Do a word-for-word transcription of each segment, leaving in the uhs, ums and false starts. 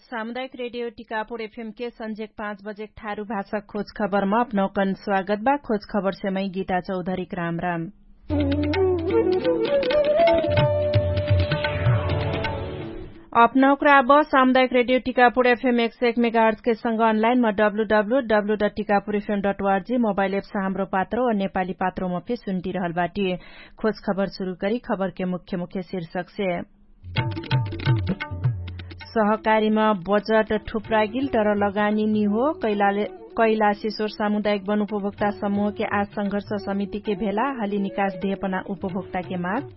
सामुदायिक रेडियो टिकापुर एफएम के सन्झेक पाँच बजेक ठारु भाषा खोज खबरमा अपनौकन स्वागत बा। खोज खबरसे मै गीता चौधरीक राम राम। अपनौकरा अब सामुदायिक रेडियो टिकापुर एफएम एक सय एक मेगाहर्जके संग अनलाइनमा W W W dot Tikapur F M dot O R G mobile apps Hamro Patro नेपाली पात्रोमा फे सुन्टिरहल बाटी। खोज खबर सुरु करी खबरके मुख्य मुख्य शीर्षकसे। सहकारीमा बजट ठुप्रागिल तर लगानी निहो। कैलासेश्वर सामुदायिक वन उपभोक्ता समूहके आज संघर्ष समितिके भेला हली निकास देहपना उपभोक्ताके माग।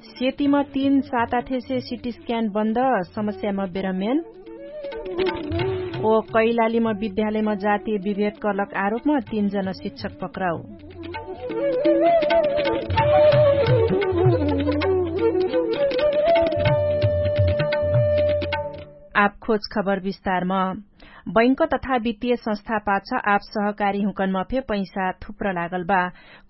सेतिमा तीन साता ठेसे सिटी स्क्यान बन्द। समस्यामा बेरमेन। ओ कैलालीमा विद्यालयमा जातीय विभेद कलक आरोपमा तीन जना शिक्षक पक्राउ। आप खोज खबर विस्तारमा। बैंक तथा वित्तीय संस्था पाछ आप सहकारी हुँकनमा फे पैसा थुप्र लागल बा।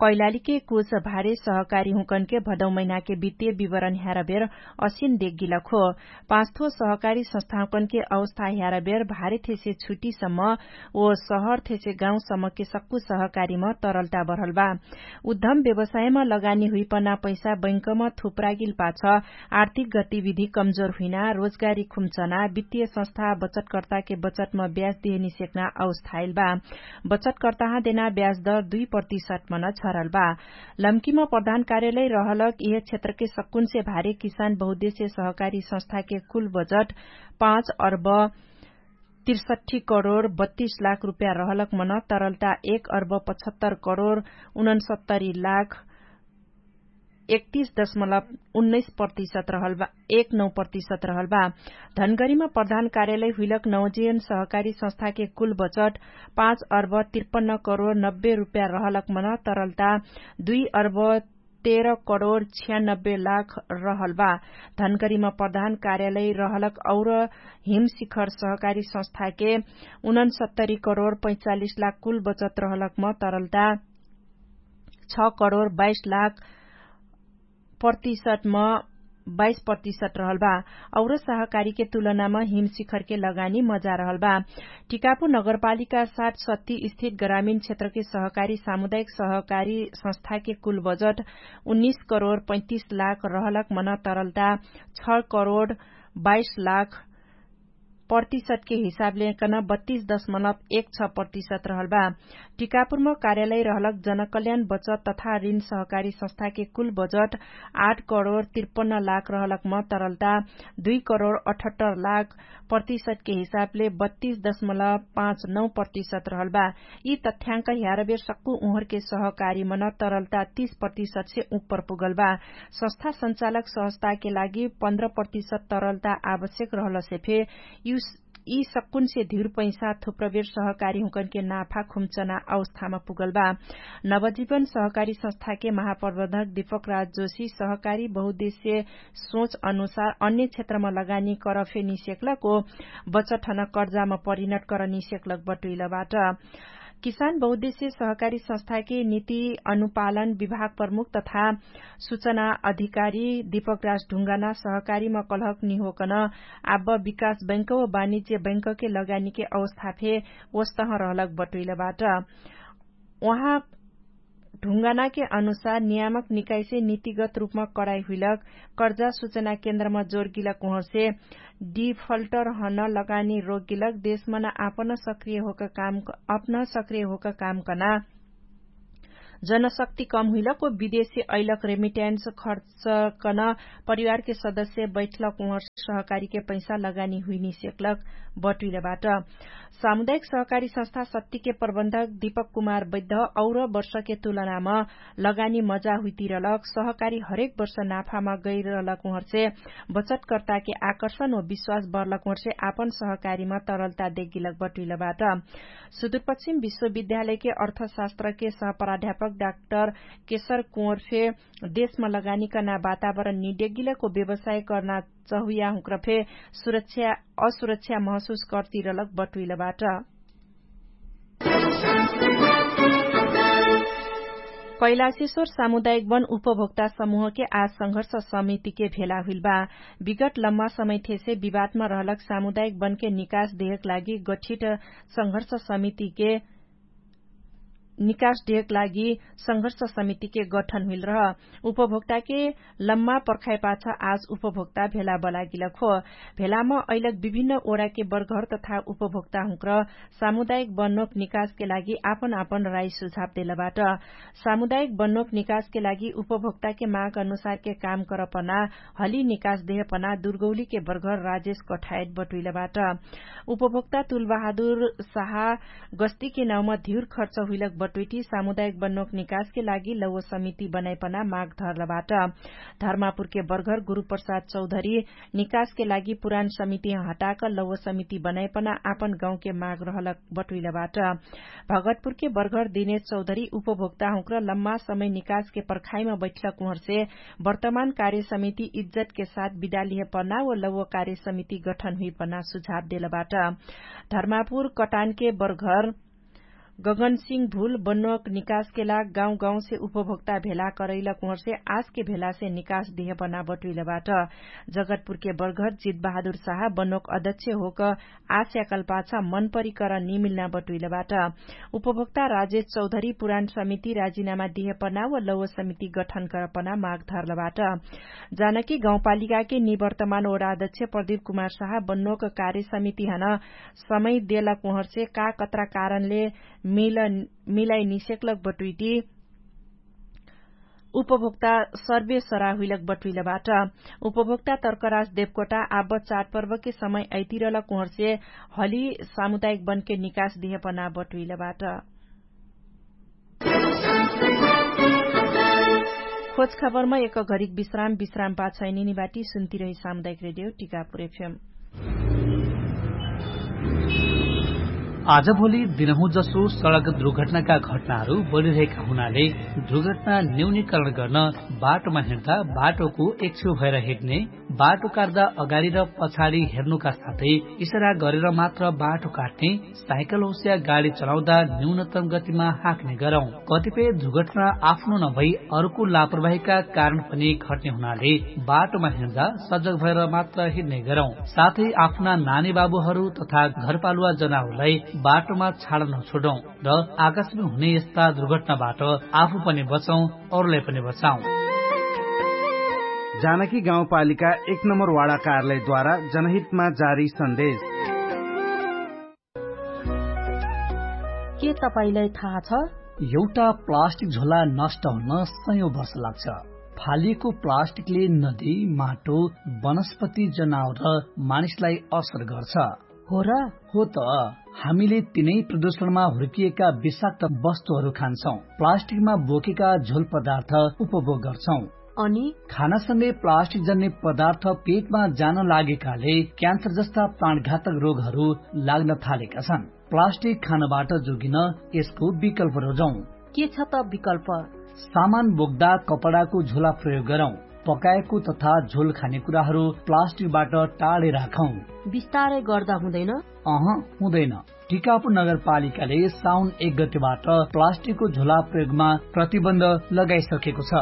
कैलालीके कुछ भारे सहकारी हुँकनके भदौ महिनाके वित्तीय विवरण ह्यारबेर असिन देग्गिलक हो। पाँचथो सहकारी संस्थाहुँकनके अवस्था ह्यारबेर भारे थेसे छुटीसम्म ओ सहर थेसे गाउँसम्मके सक्कु सहकारीम तरलता बढल बा। उद्धम व्यवसायमा लगानी हुइपना पैसा बैंकमा थुप्रागिल पाछ आर्थिक गतिविधि कमजोर हुइना रोजगारी खुम्चना वित्तीय संस्था बचतकर्ताके बचतमा ब्याज देहनी सेक्ना अवस्था आइल बा। बचतकर्ताहाँ देना ब्याज दर दुई प्रतिशतमन झरल बा। लम्कीमा प्रधान कार्यालय रहलक इहे क्षेत्रके सक्कुनसे भारे किसान बहुद्देश्य सहकारी संस्थाके कुल बजट पाँच अर्ब तिरसठी करोड बत्तीस लाख रुपैया रहलक मन तरलता एक अर्ब पचहत्तर करोड उनन्सत्तरी लाख एकतीस दशमलब उन्नैस प्रतिशत रहल बा। एक नौ प्रतिशत रहल बा। धनगरीमा प्रधान कार्यालय हुइलक नौजियन सहकारी संस्थाके कुल बचट पाँच अर्ब तिरपन्न करोड नब्बे रुपैया रहलक मन तरलता दुई अर्ब तेह्र करोड छियानब्बे लाख रहल बा। धनगरीमा प्रधान कार्यालय रहलक और हिमशिखर सहकारी संस्थाके उनन्सत्तरी करोड पैँचालिस लाख कुल बचत रहलक म तरलता छ करोड बाइस लाख प्रतिशतमा बाइस प्रतिशत रहल बा। और सहकारीके तुलनामा हिमशिखरके लगानी मजा रहल बा। टिकापुर नगरपालिका साठ सत्ती स्थित ग्रामीण क्षेत्रके सहकारी सामुदायिक सहकारी संस्थाके कुल बजट उन्नीस करोड पैँतिस लाख रहलक मन तरलता छ करोड बाइस लाख प्रतिशतके हिसाबले कन बत्तीस दशमलब एक छ प्रतिशत रहल बा। टिकापुरमा कार्यालय रहलक जनकल्याण बचत तथा ऋण सहकारी संस्थाके कुल बजट आठ करोड तिरपन्न लाख रहलक म तरलता दुई करोड अठहत्तर लाख प्रतिशतके हिसाबले बत्तीस दशमलब पाँच नौ प्रतिशत रहल बा। यी तथ्याङ्क ह्यारबेर सक्कु उहरके सहकारी मन तरलता तीस प्रतिशतसे उप्पर पुगल बा। संस्था सञ्चालक सहजताके लागि पन्ध्र प्रतिशत तरलता आवश्यक रहलसे फे यी सक्कुनसे धिर पैसा थुप्रबेर सहकारी हुँकनके नाफा खुम्चना अवस्थामा पुगल बा। नवजीवन सहकारी संस्थाके महाप्रबन्धक दीपक राज जोशी सहकारी बहुद्देश्य सोच अनुसार अन्य क्षेत्रमा लगानी करफे निसेक्लक ओ बचठन कर्जामा परिणत कर निसेक्लक बटुइलबाट। किसान बहुद्देश्य सहकारी संस्थाके नीति अनुपालन विभाग प्रमुख तथा सुचना अधिकारी दीपक राज ढुङ्गाना सहकारीमा कलहक निहोकन आब विकास बैंक व वाणिज्य बैंकके लगानीके अवस्थाफे ओस्तह रहलक बटुइलबाट। उहाँ ढुङ्गानाके अनुसार नियामक निकाइसे नीतिगत रूपमा कराइ हुइलक कर्जा सुचना केन्द्रमा जोरगिलक उहर्से डिफल्टर हन लगानी रोगगिलक देशमन आपन सक्रिय होक काम अपना सक्रिय होक काम कना जनशक्ति कम हुइलक ओ विदेशसे अइलक रेमिट्यान्स खर्च कन परिवारके सदस्य बैठलक उहर सहकारीके पैसा लगानी हुइनी सेक्लक बटुइलबाट। सामुदायिक सहकारी संस्था सत्तिके प्रबन्धक दीपक कुमार बैद्ध और वर्षके तुलनाम लगानी मजा हुइतिरलक सहकारी हरेक वर्ष नाफामा गैरलक उहर्से बचतकर्ताके आकर्षण व विश्वास बर्लक उहर्से आपन सहकारीमा तरलता देगिलक बटुइलबाट। सुदूरपश्चिम विश्वविद्यालयके अर्थशास्त्रके सहप्राध्यापक डाक्टर केशर कुँवर फे देशमा लगानीकना वातावरण निडेगिलक ओ व्यवसाय कर्ना चहुया हुँक्र फे असुरक्षा महसुस कर्तिरलक बटुइलबाट। कैलाशेश्वर सामुदायिक वन उपभोक्ता समूहके आज संघर्ष समितिके भेला हुइल बा। विगत लम्मा समयथेसे विवादमा रहलक सामुदायिक वनके निकास देहक लागि गठित संघर्ष समितिके निकास देहक लागि संघर्ष समितिके गठन हुइल रह। उपभोक्ताके लम्मा पर्खाइपाछ आज उपभोक्ता भेला बलागिलक हो। भेलाम अइलक विभिन्न ओडाके बर्घर तथा उपभोक्ता हुँक्र सामुदायिक बन्नोक निकासके लागि आपन आपन राई सुझाव देलबाट। सामुदायिक बन्नोक निकासके लागि उपभोक्ताके माग अनुसारके काम करपना हली निकास देहपना दुर्गौलीके बर्घर राजेश कठायत बटुइलबाट। उपभोक्ता तुलबहादुर साहा गस्तीके नाउँमा धिउर खर्च हुइलक बटुइटी सामुदायिक बन्नोक निकासके लागि लौव समिति बनाइपना माग धरलबाट। धर्मापुरके बर्घर गुरुप्रसाद चौधरी निकासके लागि पुरान समिति हटाक लौव समिति बनाइपना आपन गाउँके माग रहलक बटुइलबाट। भगतपुरके बर्घर दिनेश चौधरी उपभोक्ता हुँक्र लम्मा समय निकासके पर्खाइमा बैठलक उहर्से वर्तमान कार्य समिति इज्जतके साथ बिदालिहे पना व लौव कार्य समिति गठन हुइपना सुझाव देलबाट। धर्मापुर कटानके बर्घर गगनसिंह भुल बन्नोक निकासके लाग गाउँ गाउँसे उपभोक्ता भेला करैलक उहर्से आजके भेलासे निकास दिहे बना बटुइलबाट। जगतपुरके बर्घर जित बहादुर साहा बन्नोक अध्यक्ष होक आस्याकल्पाछ मनपरिकर निमिल्ना बटुइलबाट। उपभोक्ता राजेश चौधरी पुरान समिति राजिनामा दिहे पना व लौव समिति गठन करपना माग धरलबाट। जानकी गाउँपालिकाके निवर्तमान ओडा अध्यक्ष प्रदीप कुमार साहा बन्नोक कार्य समिति हन समय देलक उहर्से का कत्रा कारणले मिलाइ निसेक्लक बटुइटी उपभोक्ता सर्वे सरा हुइलक बटुइलबाट। उपभोक्ता तर्कराज देवकोटा आब चाडपर्वके समय अइतिरलक उहर्से हली सामुदायिक बनके निकास दिहे पना बटुइलबाट। खोज खबरमा एक घरिक विश्राम विश्राम पाछैनिनी बाटी सुन्तिरही सामुदायिक रेडियो टिकापुर एफएम। आजभोलि दिनहुँ जसो सडक दुर्घटनाका घटनाहरू बढिरहेका हुनाले दुर्घटना न्यूनीकरण गर्न बाटोमा हिँड्दा बाटोको एकछेउ भएर हिँड्ने, बाटो काट्दा अगाडि र पछाडि हेर्नुका साथै इसारा गरेर मात्र बाटो काट्ने, साइकल होस्या गाडी चलाउँदा न्यूनतम गतिमा हाँक्ने गरौँ। कतिपय दुर्घटना आफ्नो नभई अर्को लापरवाहीका कारण पनि घट्ने हुनाले बाटोमा हिँड्दा सजग भएर मात्र हिँड्ने गरौँ। साथै आफ्ना नानी बाबुहरू तथा घरपालुवा जनावरलाई बाटोमा छाड नछोडौँ र आकाशमा हुने यस्ता दुर्घटनाबाट आफू पनि बचौँ, अरूलाई पनि बचाउँ। जानकी गाउँपालिका एक नम्बर वाडा कार्यालयद्वारा जनहितमा जारी सन्देश। के तपाईंलाई थाहा छ? एउटा प्लास्टिक झोला नष्ट हुन सयौं वर्ष लाग्छ। फालिएको प्लास्टिकले नदी, माटो, वनस्पति, जनावर र मानिसलाई असर गर्छ। हो र? हो त। हामीले तिनै प्रदूषणमा हुर्किएका विषाक्त वस्तुहरू खान्छौं, प्लास्टिकमा बोकेका झोल पदार्थ उपभोग गर्छौं। अनि खानासँगै प्लास्टिक जन्ने पदार्थ पेटमा जान लागेकाले क्यान्सर जस्ता प्राणघातक रोगहरू लाग्न थालेका छन्। प्लास्टिक खानबाट जोगिन यसको विकल्प रोजौं। के छ त विकल्प? सामान बोक्दा कपडाको झोला प्रयोग गरौं। पकाएको तथा झोल खाने कुराहरू प्लास्टिकबाट टाढे राखौं। बिस्तारै गर्दा हुँदैन? अह, हुँदैन। टिकापुर नगरपालिकाले साउन एक गतिबाट प्लास्टिकको झोला प्रयोगमा प्रतिबन्ध लगाइसकेको छ।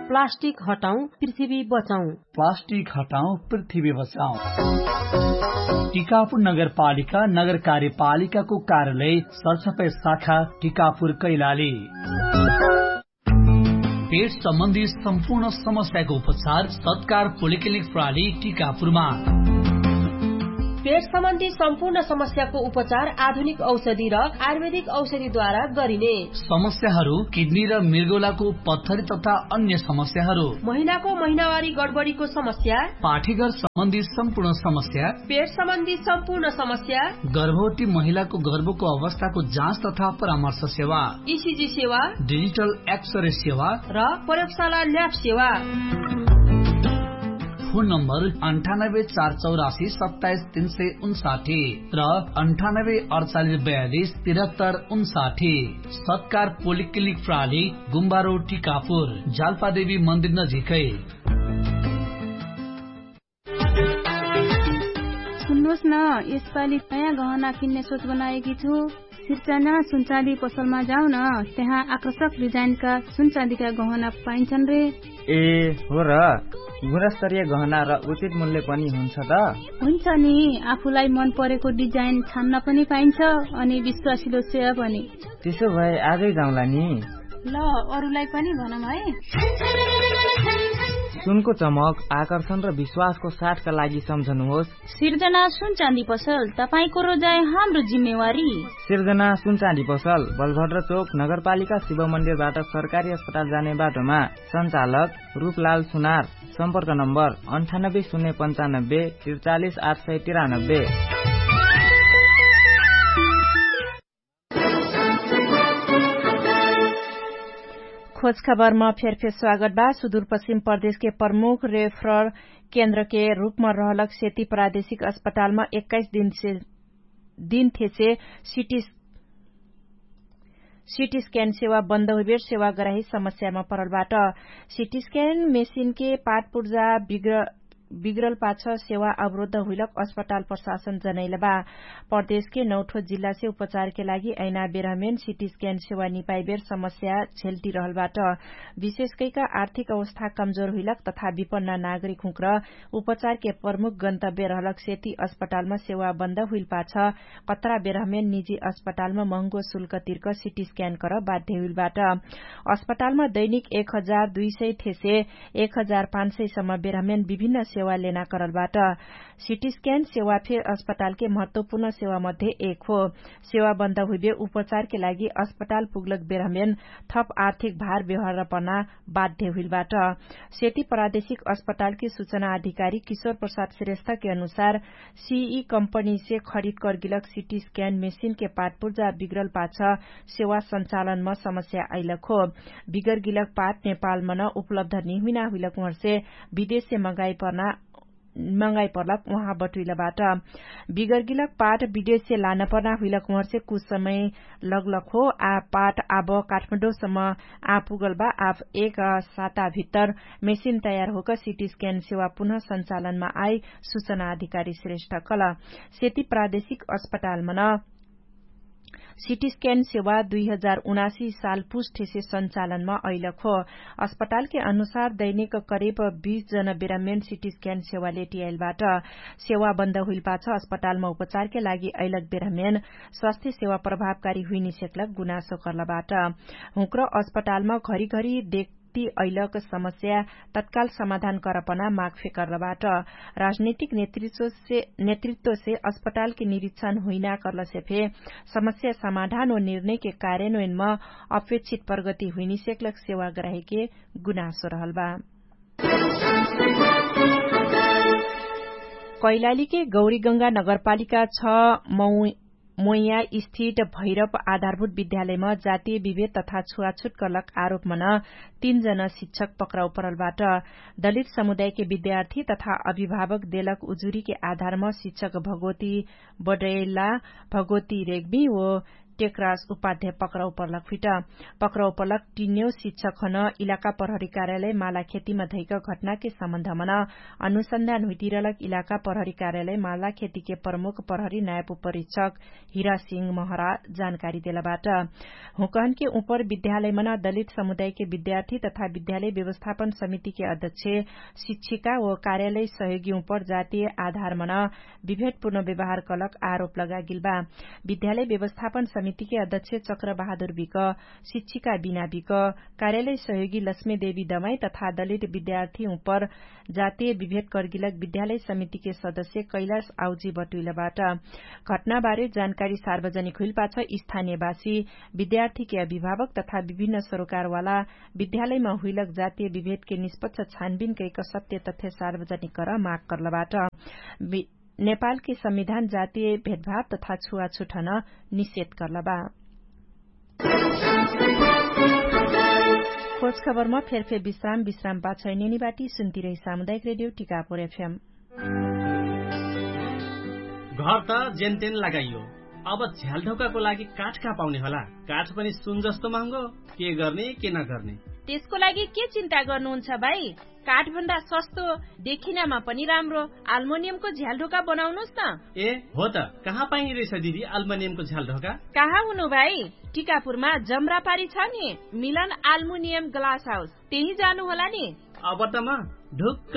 प्लास्टिक हटाउँ, पृथ्वी बचाउँ। प्लास्टिक हटाउँ, पृथ्वी बचाउँ। टिकापुर नगरपालिका नगर कार्यपालिकाको कार्यालय सरसफाइ शाखा टिकापुर कैलाली। पेट सम्बन्धी सम्पूर्ण समस्याको उपचार सत्कार पोलिक्लिनिक प्रणाली टिकापुरमा। पेट सम्बन्धी सम्पूर्ण समस्याको उपचार आधुनिक औषधि र आयुर्वेदिक औषधिद्वारा गरिने। समस्याहरू किडनी र मृगौलाको पत्थरी तथा अन्य समस्याहरू। महिलाको महिनावारी गडबडीको समस्या। पाठीघर सम्बन्धी सम्पूर्ण समस्या। पेट सम्बन्धी सम्पूर्ण समस्या। गर्भवती महिलाको गर्भको अवस्थाको जाँच तथा परामर्श सेवा। इसिजी सेवा। डिजिटल एक्सरे सेवा। र प्रयोगशाला ल्याब सेवा। फोन नम्बर अन्ठानब्बे चार चौरासी सत्ताइस तीन सय उन्साठी र अन्ठानब्बे अडचालिस बयालिस तिरहत्तर उन्साठी। सत्कार पोलिक्लिनिक प्राली गुम्बारो टिकापुर जालपादेवी मन्दिर नजिकै। सुन्नुहोस् न, यसपालि नयाँ गहना किन्ने सोच बनाएकी छु। सिर्जना सुनचाँदी पसलमा जाउन। त्यहाँ आकर्षक डिजाइनका सुनचाँदीका गहना पाइन्छन् रे। ए हो र। गुणस्तरीय गहना र उचित मूल्य पनि हुन्छ त? हुन्छ नि। आफूलाई मन परेको डिजाइन छान्न पनि पाइन्छ, अनि विश्वासिलो सेवा पनि। त्यसो भए आजै जाउँला नि। ल, अरूलाई पनि भनौँ है। सुनको चमक, आकर्षण र विश्वासको साथका लागि सम्झनुहोस्। सिर्जना सुनचाँदी पसल, तपाईंको रोजाइ हाम्रो जिम्मेवारी। सिर्जना सुनचाँदी पसल, बलभद्र चोक, नगरपालिका शिव मन्दिरबाट सरकारी अस्पताल जाने बाटोमा। सञ्चालक रूपलाल सुनार। सम्पर्क नम्बर अन्ठानब्बे शून्य पन्चानब्बे त्रिचालिस आठ सय तिरानब्बे। खोजखबरमा फेरफेर स्वागत बा। सुदूरपश्चिम प्रदेशके प्रमुख रेफरल केन्द्रके रूपमा रहलक सेती प्रादेशिक अस्पतालमा एक्काइस दिनसे दिनथेसे सिटी सिटी स्क्यान सेवा बन्द हुइबेर सेवा गराही समस्यामा परलबाट। सिटी स्क्यान मेसिनके पाटपुर्जा बिग्र बिग्रल पाछ सेवा अवरोध हुइलक अस्पताल प्रशासन जनैलबा। प्रदेशके नौठो जिल्लासे उपचारके लागि ऐना बेरहमेन सिटी स्क्यान सेवा निपाइबेर समस्या झेल्टी रहलबाट। विशेषकैका आर्थिक अवस्था कमजोर हुइलक तथा विपन्न नागरिक हुँक्र उपचारके प्रमुख गन्तव्य रहलक सेती अस्पतालमा सेवा बन्द हुइल पाछ कत्रा बेरहमेन निजी अस्पतालमा महँगो शुल्क तिर्क सिटी स्क्यान कर बाध्य हुइलबाट। अस्पतालमा दैनिक एक हजार दुई सय थेसे एक हजार पाँच सय सम्म बेरहमेन विभिन्न सेवा लेना करलबाट। सिटी स्क्यान सेवा फेर अस्पतालके महत्वपूर्ण सेवा मध्ये एक हो। सेवा बन्द हुइबे उपचारके लागि अस्पताल पुग्लक बेरहमेन थप आर्थिक भार व्यवहार पर्ना बाध्य हुइलबाट। सेती प्रादेशिक अस्पतालके सुचना अधिकारी किशोर प्रसाद श्रेष्ठके अनुसार सिई कम्पनीसे खरिद कर्गिलक सिटी स्क्यान मेसिनके पाटपुर्जा बिग्रल पाछ सेवा सञ्चालनमा समस्या अइलक हो। बिगरगिलक पाट नेपालमन उपलब्ध निहुइना हुइलक उहर्से विदेशसे मगाइ पर्ना मगाइ पर्लक उहाँ बटुइलबाट। बिगरगिलक पाट विदेशसे लानपर्ना हुइलक उहर्से कुछ समय लगलक हो। आ पाट आब काठमाडौँसम्म आ पुगलबा। आब एक साता भित्तर मेसिन तयार होक सिटी स्क्यान सेवा पुनः सञ्चालनमा आइ सुचना अधिकारी श्रेष्ठ कल। सेती प्रादेशिक अस्पतालमन सिटी स्क्यान सेवा दुई हजार उनासी साल पुस्ठेसे सञ्चालनमा अइलक हो। अस्पतालके अनुसार दैनिक करिब बीस जन बेरामेन सिटी स्क्यान सेवा लेटियाइलबाट। सेवा बन्द हुइलपाछ अस्पतालमा उपचारके लागि अइलक बेरामेन स्वास्थ्य सेवा प्रभावकारी हुइनिसेक्लक गुनासो कर्लबाट। हुँक्र अस्पतालमा घरिघरि देख ती अइलक समस्या तत्काल समाधान करपना माग फेकर्लबाट। राजनैतिक नेतृत्वसे अस्पतालके निरीक्षण हुइना कर्लसे फे समस्या समाधान व निर्णयके कार्यन्वयनमा अपेक्षित प्रगति हुइनिसेक्लक सेवा गराहेके गुनासो रहलबा। कैलालीके गौरीगंगा नगरपालिका छ मौ मोइया स्थित भैरव आधारभूत विद्यालयमा जातीय विभेद तथा छुवाछुट कर्लक आरोपमन तीन जन शिक्षक पक्राउ परलबाट। दलित समुदायके विद्यार्थी तथा अभिभावक देलक उजुरीके आधारम शिक्षक भगवती बडैला, भगवती रेग्मी व टेक्रास उपाध्याय पक्राउ परलक फिट। पक्राउ परलक टिन्यौ शिक्षकहन इलाका प्रहरी कार्यालय मालाखेतीमा धैक घटनाके सम्बन्धमन अनुसन्धान हुइतिरलक इलाका प्रहरी कार्यालय मालाखेतीके प्रमुख प्रहरी नायब उपरीक्षक हिरासिंह महरा जानकारी देलबाट। हुँकहनके उपर विद्यालयमन दलित समुदायके विद्यार्थी तथा विद्यालय व्यवस्थापन समितिके अध्यक्ष शिक्षिका व कार्यालय सहयोगी उपर जातीय आधारमन विभेटपूर्ण व्यवहार कलक आरोप लगागिलबा। विद्यालय व्यवस्थापन समितिके अध्यक्ष चक्र बहादुर बिक, शिक्षिका बिना बिक, कार्यालय सहयोगी लक्ष्मी देवी दमाई तथा दलित विद्यार्थी उपर जातीय विभेट कर्गिलक विद्यालय समितिके सदस्य कैलाश आउजी बटुइलबाट। घटनाबारे जानकारी सार्वजनिक हुइलपाछ स्थानीयवासी विद्यार्थीके अभिभावक तथा विभिन्न सरोकारवाला विद्यालयमा हुइलक जातीय विभेटके निष्पक्ष छानबिन कैक सत्य तथ्य सार्वजनिक कर माग कर्लबाट। नेपालके संविधान जातीय भेदभाव तथा छुवाछुटहन निषेध कर्लबा। खोज खबरमा फेरफेर विश्राम विश्राम पाछै नेनिबाटी सुन्तिरै सामुदायिक रेडियो टिकापुर एफएम। घर त जेनतेन लगाइयो, अब झ्यालढोकाको लागि काठ कहाँ पाउने होला? काठ पनि सुन जस्तो महँगो। के गर्ने के नगर्ने? त्यसको लागि के चिन्ता गर्नुहुन्छ भाइ? काठभन्दा सस्तो, देखिनामा पनि राम्रो आल्मोनियमको झ्यालढोका बनाउनुस् न। ए हो त, कहाँ पाइने रहेछ दिदी आल्मोनियमको झ्यालढोका? कहाँ हुनु भाइ? टिकापुरमा जमरापारी छ नि, मिलन आल्मोनियम ग्लास हाउस, त्यही जानु होला नि। अब त म ढुक्क।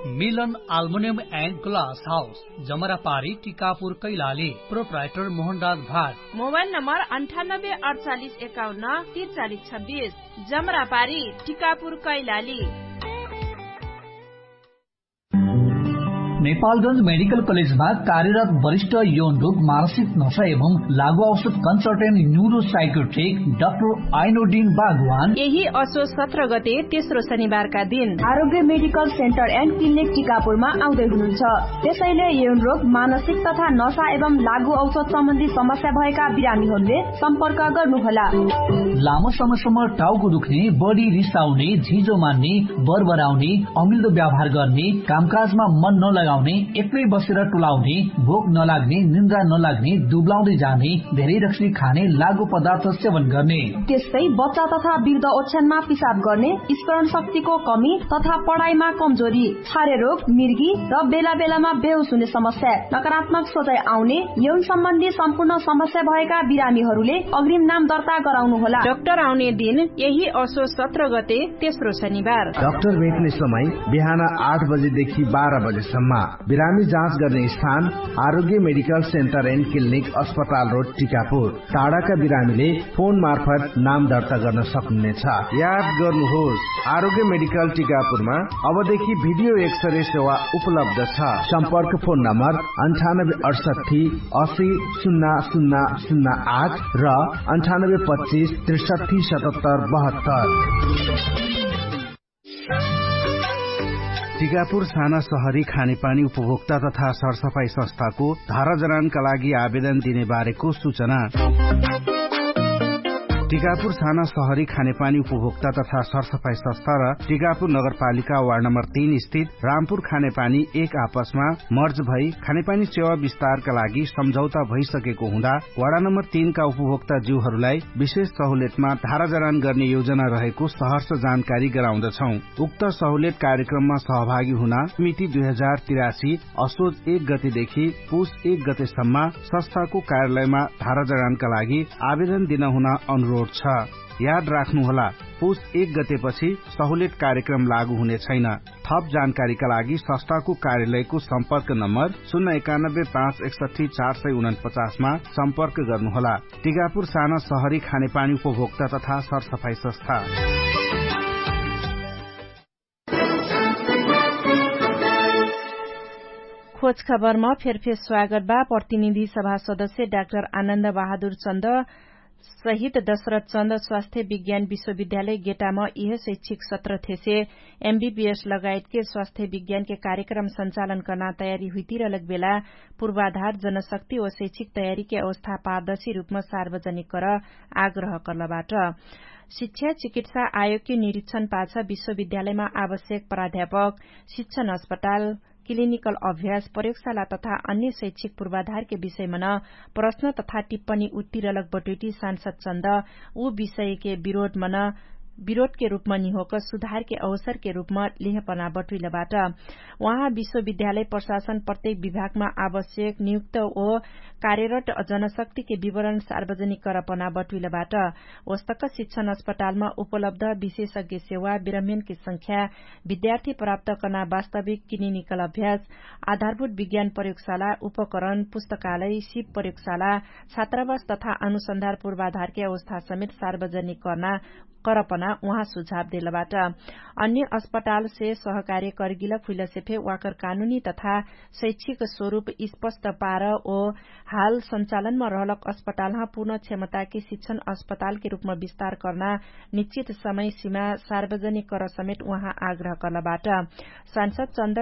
मिलन आल्मोनियम एन्ड ग्लास हाउस, जमरापारी, टिकापुर, कैलाली। प्रोप्राइटर मोहनराज भाट। मोबाइल नम्बर अन्ठानब्बे अडचालिस एकाउन्न तिरचालिस छब्बिस। जमरापारी, टिकापुर, कैलाली। नेपालगञ्ज मेडिकल कलेजमा कार्यरत वरिष्ठ यौन रोग, मानसिक नशा एवं लागु औषध कन्सल्टेन्ट न्युरो साइकोट्रिक डाक्टर आइनोडिन बागवान यही असो सत्र गते तेस्रो शनिबारका दिन आरोग्य मेडिकल सेन्टर एन्ड क्लिनिक टिकापुरमा आउँदै हुनुहुन्छ। त्यसैले यौन रोग, मानसिक तथा नशा एवं लागु औषध सम्बन्धी समस्या भएका बिरामीहरूले सम्पर्क गर्नुहोला। लामो समयसम्म टाउको दुख्ने, बढी रिसाउने, झिजो मान्ने, बरबराउने, अमिल्दो व्यवहार गर्ने, कामकाजमा मन नलगाउने, एक्लै बसेर टुलाउने, भोक नलाग्ने, निन्द्रा नलाग्ने, दुब्लाउँदै जाने, धेरै रक्सी खाने, लागु पदार्थ सेवन गर्ने, त्यस्तै बच्चा तथा वृद्ध ओछ्यानमा पिसाब गर्ने, स्मरण शक्तिको कमी तथा पढाइमा कमजोरी, छारे रोग, मिर्गी र बेला बेलामा बेहोस हुने समस्या, नकारात्मक सोचाइ आउने, यौन सम्बन्धी सम्पूर्ण समस्या भएका बिरामीहरूले अग्रिम नाम दर्ता गराउनु होला। डाक्टर आउने दिन यही असो सत्र गते, तेस्रो शनिबार। डाक्टर भेट्ने समय बिहान आठ बजेदेखि बाह्र बजेसम्म। बिरामी जाँच गर्ने स्थान आरोग्य मेडिकल सेन्टर एन्ड क्लिनिक, अस्पताल रोड, टिकापुर। टाढाका बिरामीले फोन मार्फत नाम दर्ता गर्न सक्नुहुनेछ। याद गर्नुहोस्, आरोग्य मेडिकल टिकापुरमा अबदेखि भिडियो एक्सरे सेवा उपलब्ध छ। सम्पर्क फोन नम्बर अन्ठानब्बे अठसट्ठी असी सुन्ना सुन्ना सुन्ना आठ र अन्ठानब्बे पच्चिस त्रिसट्ठी सतहत्तर बहत्तर। टिकापुर साना सहरी खानेपानी उपभोक्ता तथा सरसफाई संस्थाको धाराजरानका लागि आवेदन दिने बारेको सूचना। टिकापुर साना सहरी खानेपानी उपभोक्ता तथा सरसफाई संस्था र टिकापुर नगरपालिका वार्ड नम्बर तीन स्थित रामपुर खानेपानी एक आपसमा मर्ज भई खानेपानी सेवा विस्तारका लागि सम्झौता भइसकेको हुँदा वार्ड नम्बर तीनका उपभोक्ता ज्यूहरूलाई विशेष सहुलेटमा धाराजरान गर्ने योजना रहेको सहर्ष जानकारी गराउँदछौं। उक्त सहुलेट कार्यक्रममा सहभागी हुन मिति दुई हजार तिरासी असोज एक गतेदेखि पुस एक गतेसम्म संस्थाको कार्यालयमा धाराजडानका लागि आवेदन दिन हुन अनुरोध छ। याद राख्नुहोला, पुस एक गतेपछि सहुलेट कार्यक्रम लागू हुने छैन। थप जानकारीका लागि संस्थाको कार्यालयको सम्पर्क नम्बर शून्य एकानब्बे पाँच एकसट्ठी चार सय उनपचासमा सम्पर्क गर्नुहोला। टिकापुर साना सहरी खानेपानी उपभोक्ता तथा सरसफाई संस्था। खोज खबरमा फेरफेर स्वागत बा। प्रतिनिधि सभा सदस्य डाक्टर आनन्द बहादुर चन्द सहित दशरथ चन्द स्वास्थ्य विज्ञान विश्वविद्यालय गेटामा इह शैक्षिक सत्र थेसे एमबीबीएस लगायतके स्वास्थ्य विज्ञानके कार्यक्रम सञ्चालन कर्ना तयारी हुइतिरलक बेला पूर्वाधार जनशक्ति व शैक्षिक तयारीके अवस्था पारदर्शी रूपमा सार्वजनिक कर आग्रह कर्लबाट। शिक्षा चिकित्सा आयोगके निरीक्षण पाछ विश्वविद्यालयमा आवश्यक प्राध्यापक, शिक्षण अस्पताल, क्लिनिकल अभ्यास प्रयोगशाला तथा अन्य शैक्षिक पूर्वाधारके विषयमन प्रश्न तथा टिप्पणी उत्तिरलक बटुइटी सांसद चन्द उ विषयके विरोधमन विरोधके रूपमा निहोक सुधारके अवसरके रूपमा लिहपना बटुइलबाट। उहाँ विश्वविद्यालय प्रशासन प्रत्येक विभागमा आवश्यक नियुक्त ओ कार्यरत जनशक्तिके विवरण सार्वजनिक करपना बटुइलबाट। ओस्तक शिक्षण अस्पतालमा उपलब्ध विशेषज्ञ सेवा विरम्यनके संख्या विद्यार्थी प्राप्त कर्ना वास्तविक क्लिनिकल अभ्यास आधारभूत विज्ञान प्रयोगशाला उपकरण पुस्तकालय सिप प्रयोगशाला छात्रावास तथा अनुसन्धार पूर्वाधारके अवस्था समेत सार्वजनिक कर्ना करपना उहाँ सुझाव देलबाट। अन्य अस्पतालसे सहकार्य करगिल फुइलसे फे वाकर कानुनी तथा शैक्षिक स्वरूप स्पष्ट पार ओ हाल सञ्चालनमा रहलक अस्पतालहा पूर्ण क्षमताके शिक्षण अस्पतालके रूपमा विस्तार कर्ना निश्चित समय सिमा सार्वजनिक कर समेत उहाँ आग्रह कर्लबाट। सांसद चन्द